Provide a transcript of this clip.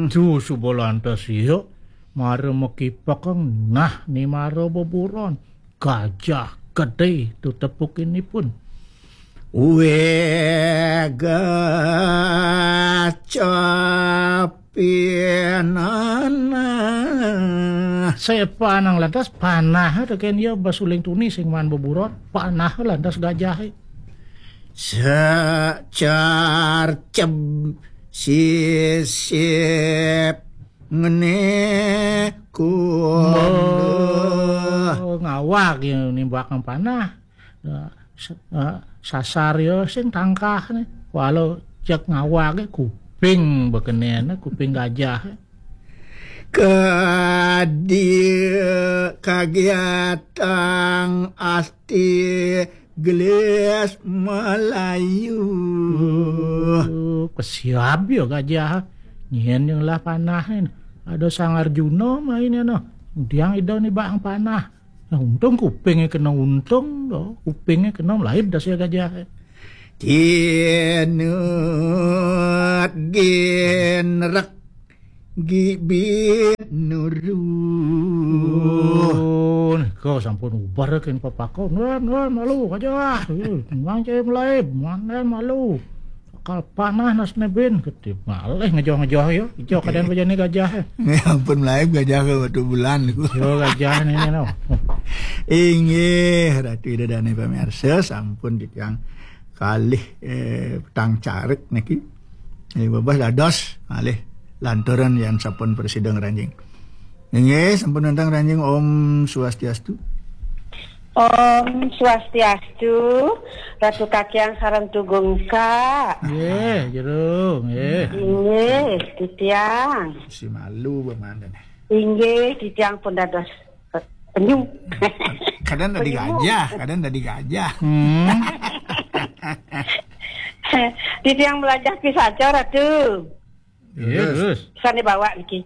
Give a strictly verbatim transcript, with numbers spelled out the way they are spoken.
Tu suba lantas iya, mara makipekang, nah, ni mara beburon. Gajah gedé tu tepukinipun. Wé gacapinana. Sepanang lantas panah tekén iya basuling tuni sing maan beburon, panah lantas gajahé. Secarcem sisip ngene kun. Ngawag ya nimbakang panah. Ya, sa- eh, sasar ya sing tangkah nih. Walau cek ngawag ya kuping bekenena, kuping gajah. Kadi kagiatang asti gelis Melayu. Uh, kesiab ya gajah. Nyen yang lah panah ini. Ada Sang Arjuna main ya no. Diang ida ni bak panah. Nah, untung kupingnya kena untung, do. Kupingnya kena melaib das ya gajah. Tinut ginrek gibi nuru. Oh, kau sampun ubar kin papako. Nuan, nuan, malu aja. Memang cai melaib, mana malu. Akal panah nas nebin, ketip malih ngejoh-ngejoh ya. Ijo keadaan bejani gajah ya. Ya ampun, melaib gajah ke batu bulan niku. Yo gajah ini no. Inggih, Ratu Ida Dane pamirsa, sampun titiang kalih eh, petang carek niki. Eh, babas dados malih lantaran yang sampun presida ngranjing. Inggih, sampun nentang ranjing. Om Swastiastu. Om Swastiastu, Ratu Kakiang sareng Tugungka. Nggih, jero, nggih. Inggih, titiang. Si malu bemanten. Inggih, titiang pun dados eh, penyu. Kadang tadi Penyu. Gajah, kadang tadi gajah. Hmm. Titiang belajar pisaca, Ratu. Iya, terus. Sane bawa niki.